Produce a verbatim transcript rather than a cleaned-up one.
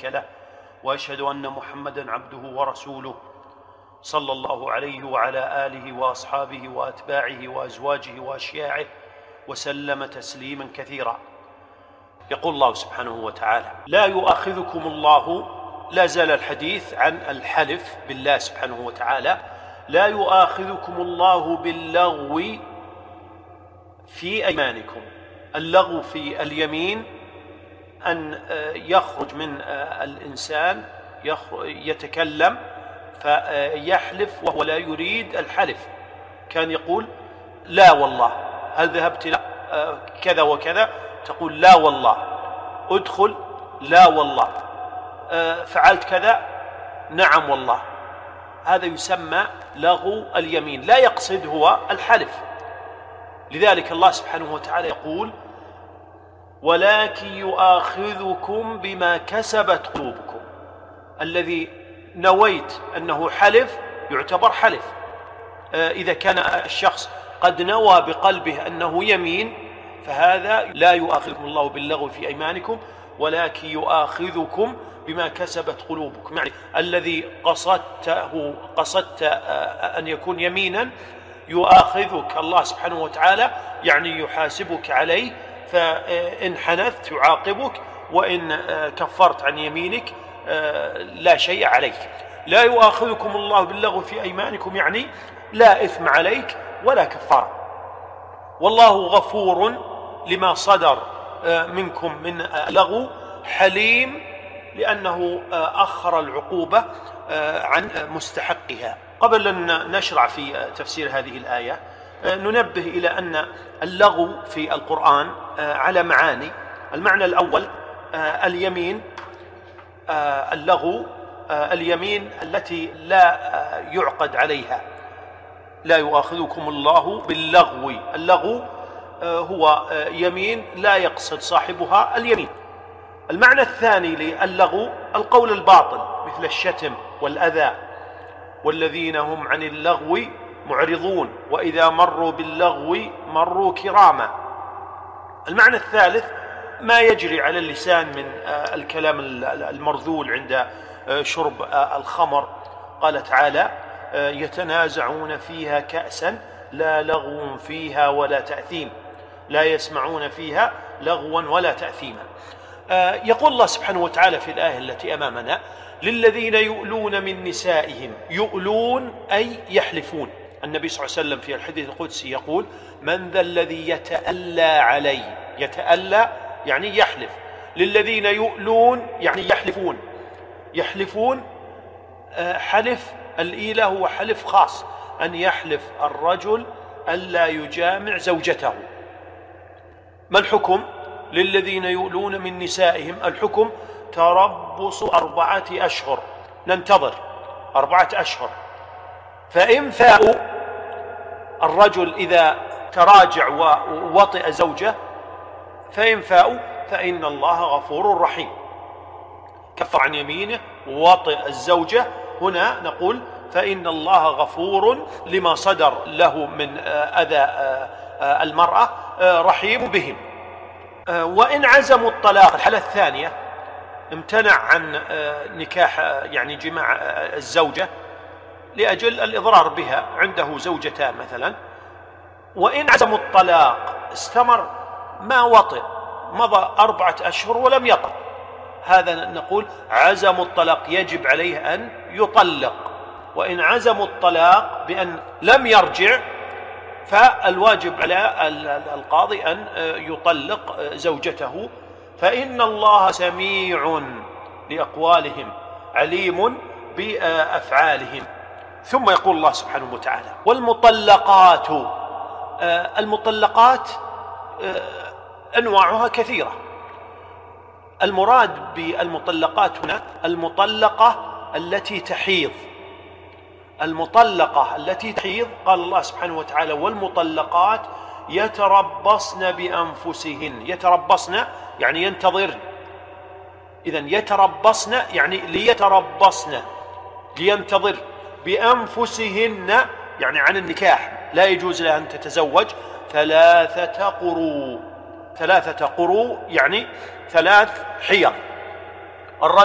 شريك له، وأشهد أن محمدًا عبده ورسوله صلى الله عليه وعلى آله وأصحابه وأتباعه وأزواجه وأشياعه وسلم تسليما كثيرا. يقول الله سبحانه وتعالى: لا يؤاخذكم الله، لا زال الحديث عن الحلف بالله سبحانه وتعالى، لا يؤاخذكم الله باللغو في أيمانكم. اللغو في اليمين أن يخرج من الإنسان يتكلم فيحلف وهو لا يريد الحلف، كان يقول لا والله، هل ذهبت لا كذا وكذا، تقول لا والله، ادخل لا والله، فعلت كذا نعم والله. هذا يسمى لغو اليمين، لا يقصد هو الحلف. لذلك الله سبحانه وتعالى يقول: ولكن يؤاخذكم بما كسبت قلوبكم. الذي نويت أنه حلف يعتبر حلف. إذا كان الشخص قد نوى بقلبه أنه يمين فهذا لا يؤاخذكم الله باللغو في أيمانكم، ولكن يؤاخذكم بما كسبت قلوبكم. يعني الذي قصدته قصدت أن يكون يمينا يؤاخذك الله سبحانه وتعالى، يعني يحاسبك عليه، فإن حنثت يعاقبك، وإن كفرت عن يمينك لا شيء عليك. لا يؤاخذكم الله باللغو في أيمانكم يعني لا إثم عليك ولا كفارة. والله غفور لما صدر منكم من اللغو، حليم لأنه أخر العقوبة عن مستحقها. قبل أن نشرع في تفسير هذه الآية ننبه إلى أن اللغو في القرآن على معاني. المعنى الأول اليمين، اللغو اليمين التي لا يعقد عليها. لا يؤاخذكم الله باللغو، اللغو هو يمين لا يقصد صاحبها اليمين. المعنى الثاني للغو القول الباطل مثل الشتم والأذى، والذين هم عن اللغو معرضون وإذا مروا باللغو مروا كراما. المعنى الثالث ما يجري على اللسان من الكلام المرذول عند شرب الخمر. قال تعالى: يتنازعون فيها كأسا لا لغو فيها ولا تأثيم، لا يسمعون فيها لغوا ولا تأثيما. يقول الله سبحانه وتعالى في الآية التي أمامنا: للذين يؤلون من نسائهم. يؤلون أي يحلفون. النبي صلى الله عليه وسلم في الحديث القدسي يقول: من ذا الذي يتألى علي. يتألى يعني يحلف. للذين يؤلون يعني يحلفون. يحلفون حلف الإيلة هو حلف خاص، أن يحلف الرجل ألا يجامع زوجته. ما الحكم؟ للذين يؤلون من نسائهم الحكم تربص أربعة أشهر، ننتظر أربعة أشهر. فإن فاءوا، الرجل إذا تراجع ووطئ زوجه فإن فاءوا فإن الله غفور رحيم. كفر عن يمينه ووطئ الزوجة، هنا نقول فإن الله غفور لما صدر له من أذى المرأة، رحيم بهم. وإن عزموا الطلاق، الحالة الثانية، امتنع عن نكاح يعني جماع الزوجة لأجل الإضرار بها، عنده زوجتان مثلا، وإن عزموا الطلاق استمر ما وطئ، مضى أربعة أشهر ولم يطأ، هذا نقول عزموا الطلاق، يجب عليه أن يطلق. وإن عزموا الطلاق بأن لم يرجع فالواجب على القاضي أن يطلق زوجته، فإن الله سميع لأقوالهم عليم بأفعالهم. ثم يقول الله سبحانه وتعالى: والمطلقات. المطلقات أنواعها كثيرة. المراد بالمطلقات هنا المطلقة التي تحيض. المطلقة التي تحيض قال الله سبحانه وتعالى: والمطلقات يتربصن بأنفسهن. يتربصن يعني ينتظرن. إذن يتربصن يعني ليتربصن، لينتظر. بأنفسهن يعني عن النكاح، لا يجوز لها أن تتزوج ثلاثة قروء. ثلاثة قروء يعني ثلاث حيض. الرجل